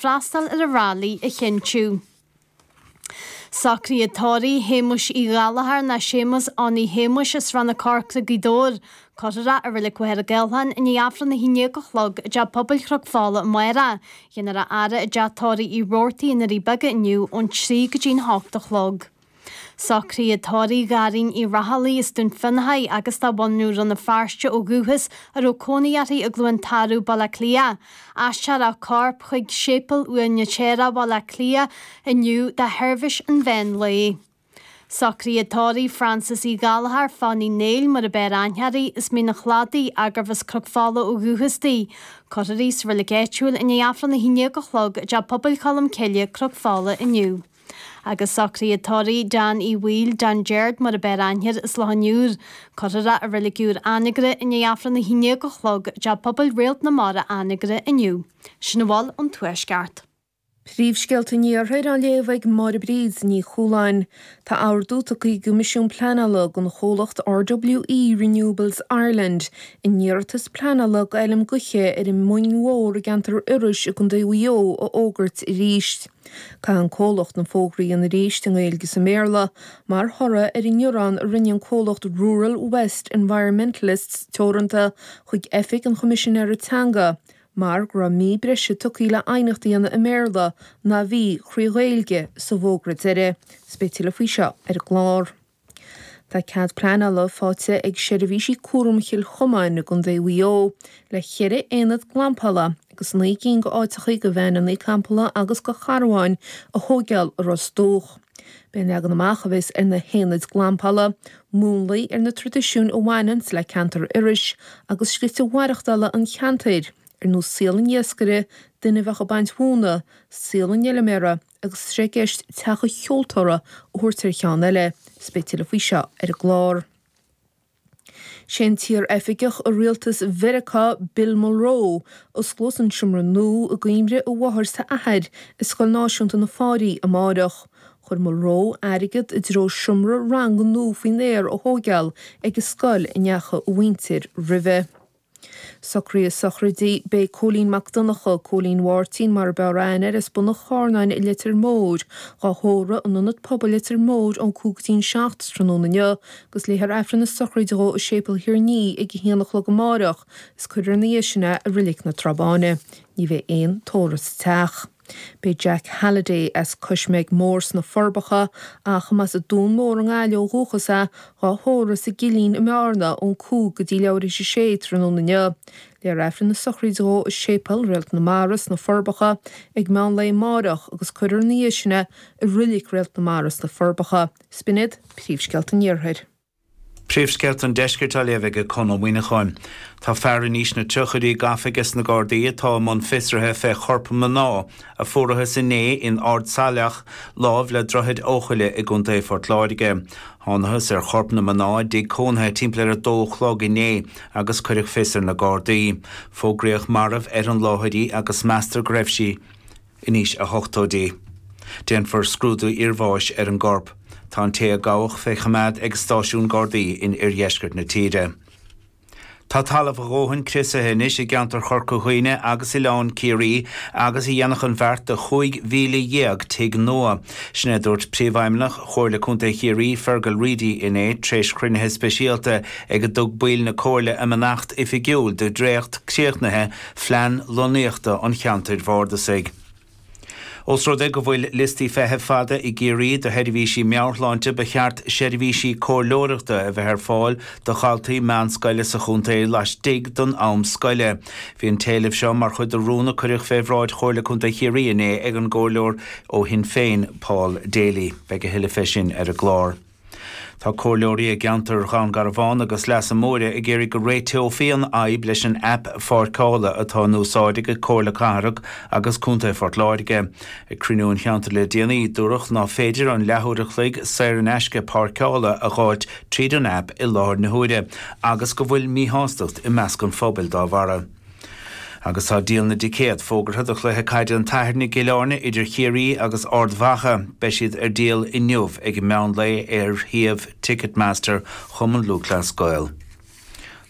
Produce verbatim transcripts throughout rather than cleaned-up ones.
Freastal ar an rally a chinntiú. Socruithe tórraimh Shéamuis Uí Ghallchóir nó Séamus Annaí Shéamuis as Srath na Corcra, Gaoth Dobhair. Cuirfear é i Reilig Mhachaire Gathlán i ndiaidh Aifreann a haon déag a chlog i dTeach Pobail Chnoc Fola amárach. Déanfar a fhaire i dteach tórraimh Uí Robhartaigh i nDoirí Beaga inniu ón trí go dtí'n hocht a chlog. Socruithe tórraimh Dharren Uí Raghallaigh as Dún Fionnachaidh agus de bhunadh Rann na Feirste ó dhúchas a raibh cónaí uirthi i gCluain Tarbh, Baile Átha Cliath. Aistreofar a corp chuig Séipéal Uaine Téara, Baile Átha Cliath inniu do sheirbhís an mheán lae. Socruithe tórraimh Frances Uí Ghallchóir, Fanny Néill mar ab fhearr aithne uirthi, as Mín an Chladaigh, gurbh as Cnoc Fola ó dhúchas di. Cuirfear í sa reilig áitiúil i ndiaidh Aifreann a haon déag a chlog i dTeach Pobail Cholm Cille, Cnoc Fola inniu. Agus socruithe tórraimh Dan Uí Bhaoill, Dan Gerard mar ab fhearr aithne air as Loch an Iúir. Cuirfear é i reilig úr Anagaire i ndiaidh Aifreann a haon déag a chlog i dTeach Pobail Réalt na Mara Anagaire inniu. Sin a bhfuil ón Tuaisceart. Príomhscéalta an Iarthair á léamh ag Máire Bríd Ní Chualáin. Tá ordú tugtha ag an gCoimisiún Pleanála don chomhlacht RWE Renewables Ireland a n-iarratas pleanála d'fheilm gaoithe ar an Mhoing Mhór i gceantar Iorrais i gContae Mhaigh Eo a fhógairt arís. Caithfidh an comhlacht na fógraí a dhéanamh arís i nGaeilge is i mBéarla mar thoradh ar an ngearán a rinne an comhlacht Rural West Environmentalists Teoranta chuig Oifig an Choimisinéara Teanga mar go raibh mí breise tugtha le haighneacht a dhéanamh i mBéarla ná bhí trí Ghaeilge sa bhfógra deiridh. Is beidh tuilleadh faoi seo ar an gclár. Tá cead pleanála faighte ag seirbhísí cúraim Chill Chomáin i gContae Mhaigh Eo le ceithre aonad glampála agus naoi gcinn d'áiteacha do veaineanna campála agus do charbháin a thógáil i Ros Dumhach. B'é an leagan amach a bheas ar na haonaid glampála, múnlaí ar na traidisiúin a bhaineanns le ceantar Iorrais agus slite mhaireachtála an cheantair, ar nós saol an iascaire, duine a bheadh ag baint mhóna, saol an fheilméara agus tá sé i gceist teach an cheoltóra a thabhairt ar cheann eile. Is beidh tuilleadh faoi seo ar an gclár. Sé an t-iar-oifigeach i rialtas Mheiriceá Bill Mulroe a osclós an seomra nua i gcuimhne a mháthar is a athair i Scoil Náisiúnta na Fáirí amáireach. Chuir Mulroe airgead i dtreo seomra ranga nua faoin aer a thógáil ag an scoil a ndeachaigh a mhuintir roimhe. Socruithe sochraide Beidh Cóilín Mac Donncha, Cóilín Mháirtín mar ab fhearr aithne air as Bun an Charnáin i Leitir Móir, dhá thórramh in Ionad Pobail Leitir Móir ón cúig go dtí'n seacht tráthnóna inniu agus léifear Aifreann na sochraide dhó i Séipéal Thír an Fhia ag a haon a chlog amáireach is cuirfear ina dhiaidh sin é i Reilig na Trá Báine. Ní bheidh aon tórramh sa teach. Beidh Jack Halliday as Cois Meig Mór sna Forbacha, ach mba as an Dún Mór i nGaillimh ó dhúchas é, dhá thórramh sa gCillín i mBearna ón cúig go dtí leathuair théis a sé tráthnóna inniu. Léifear Aifreann na sochraide dhó i Séipéal Réalt na Mara sna Forbacha ag meán lae amáireach agus cuirfear ina dhiaidh sin é i Reilig Réalt na Mara sna Forbacha. 'S b'in iad príomhscéalta an Iarthair. Príomhscéalta an Deiscirt á léamh ag Conn Ó Muíneacháin. Tá fear in aois na tríochaidí gafa aige na Gardaí atá i mbun fiosraithe fé chorp mná a fuarathas inné in Ard Saileach láimh le Droichead Eochaille i gContae Phort Láirge. Thánathas ar chorp na mná i dtigh cónaithe timpeall ar a dó a chlog inné agus cuireadh fios ar na Gardaí. Fógraíodh marbh ar an láthair í agus meastar go raibh sí in aois a hochtóidí. Déanfar scrúdú iarbháis ar an gcorp. Tá an té a gabhadh fé choimeád ag stáisiún Gardaí in oirdheisceart na tíre. Tá talamh a dhóthain criosaithe anois i gceantar Chorca Dhuibhne agus Oileán Ciarraí agus a dhéanfadh an bheart do chúig mhíle dhéag tigh nua. Sin é dúirt Príomhfheidhmeannach Chomhairle Contae Chiarraí Fergal Reidy inné tréis chruinnithe speisialta ag a dtug baill na Comhairle a mbeannacht oifigiúil do dhréacht críochnaithe phlean lonnaíochta an cheantair bhardasaigh. Ós rud é go bhfuil liostaí feithimh fada i gCiarraí do sheirbhísí meabhairshláinte ba cheart seirbhísí comhairleoireachta a bheith ar fáil do dhaltaí meánscoile sa chontae laistigh den am scoile. Bhí an t-éileamh seo mar chuid de rún a cuireadh fé bhráid Chomhairle Contae Chiarraí inné ag an gcomhairleoir ó Shinn Féin Paul Daly. Beidh a thuilleadh fé sin ar an gclár. Tá comhairleoirí i gceantar Dhún Garbhán agus Leasa Móire ag iarraidh go réiteofaí an fhadhb leis an aip pháirceála atá in úsáid ag Comhairle Cathrach agus Contae Phort Láirge. Ag cruinniú an cheantair le déanaí dúradh ná féidir an leathuair a chloig saor in aisce páirceála a dh'fháilt tríd an aip i láthair na huaire agus go bhfuil míshástacht i measc an phobail dá bharra. Agus tá díol na dticéad fógartha do chluiche caide an tSathairn i gCill Airne idir Chiarraí agus Ard Mhacha. Beidh siad ar díol inniu ag an meán lae ar shuíomh Ticketmaster Chumann Lúthchleas Gael.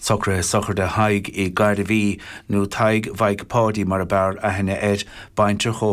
Socruithe sochraide Thaidhg Uí Ghairbhí nó Tadhg Mhaidhc Pháidí mar ab fhearr aithne air, baintreach ó